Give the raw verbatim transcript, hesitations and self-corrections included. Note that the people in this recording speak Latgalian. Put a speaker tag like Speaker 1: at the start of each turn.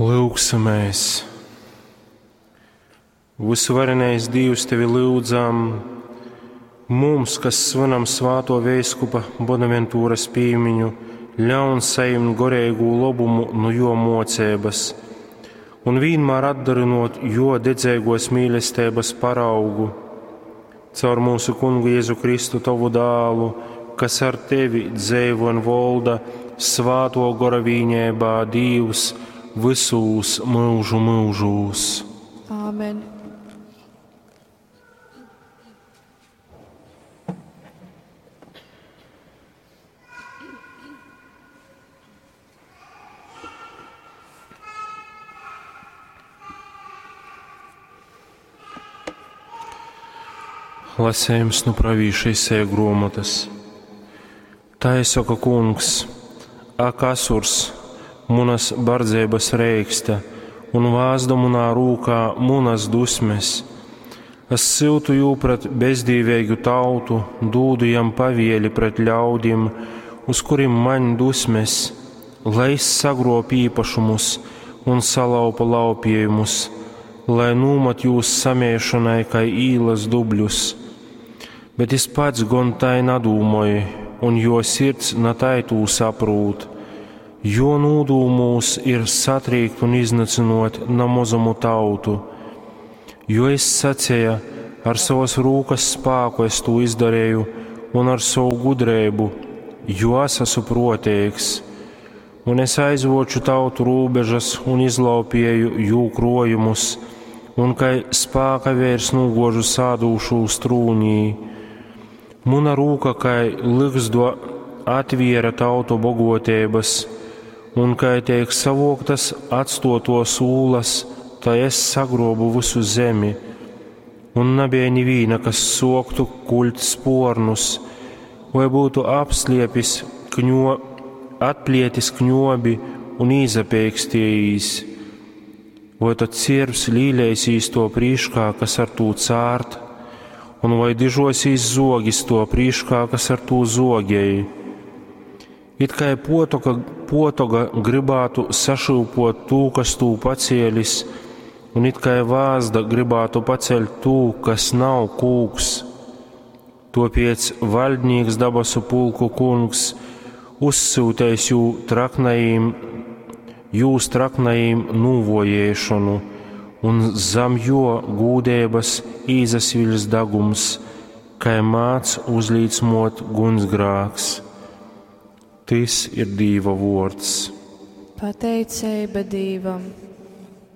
Speaker 1: Lūgsimies! Visuvarenais Dīvs, tevi lyudzam, mums, kas svinam svāto veiskupa Bonaventūras pīmiņu, ļaun sajimt goreigū lobumu nu jo mocības un vienmēr atdarinot jo dedzīgos mīlestības paraugu. Caur mūsu kungu Jēzu Kristu, tavu dālu, kas ar tevi dzeivo un volda svāto gora vīņēbā Dīvs visūs mūžu mūžūs.
Speaker 2: Āmen.
Speaker 1: Lasējums nu pravīša Isaija grāmatas. Tā saka kungs, ak, Asurs, munas bardzības reiksta, un vāzda munā rūkā munas dusmes. Es siltu jū pret bezdīvīgu tautu, dūdu jam pavieli pret ļaudim, uz kurim maņ dusmes, lai es sagrop īpašumus un salaupa laupījumus, lai nūmat jūs samiešanai kai īlas dubļus. Bet es pats gon tai nadūmoju, un jo sirds na tai tū saprūt, jo nūdūmūs ir satrīkt un iznacinot na mozumu tautu. Jo es sacēju, ar savas rūkas spāku es to izdarīju, un ar savu gudrību, jo es esmu proteigs. Un es aizvoču tautu robežas un izlaupīju jū krojumus, un kai spāka vērs nūgožu sādūšūs trūnī. Muna rūka kai ligzdo atviera tautu bogotības, un kai tiek savoktas atstotos ūlas, tai es sagrobu visu zemi. Un nebija nivīna, kas soktu kuļt spornus, vai būtu apsliepis kņo, atplietis kņobi un īzapeikstījis. Vai tad ciervs līlēsīs to prīškā, kas ar tū cārt, un vai dižosīs zogis to prīškā, kas ar tū zogēji. It kā potoka, potoga gribētu sašūpot tū, kas tū pacēlis, un it kā vāzda gribētu paceļt tū, kas nav kūks. Topiec valdnieks dabasu pulku kungs uzsūtējis jū traknajiem, jūs traknajiem nūvojēšanu, un zam jo gūdēbas īzasviļs dagums, kai māc uzlīdsmot gunsgrāks. Tis ir Dīva vords.
Speaker 2: Pateicība Dīvam!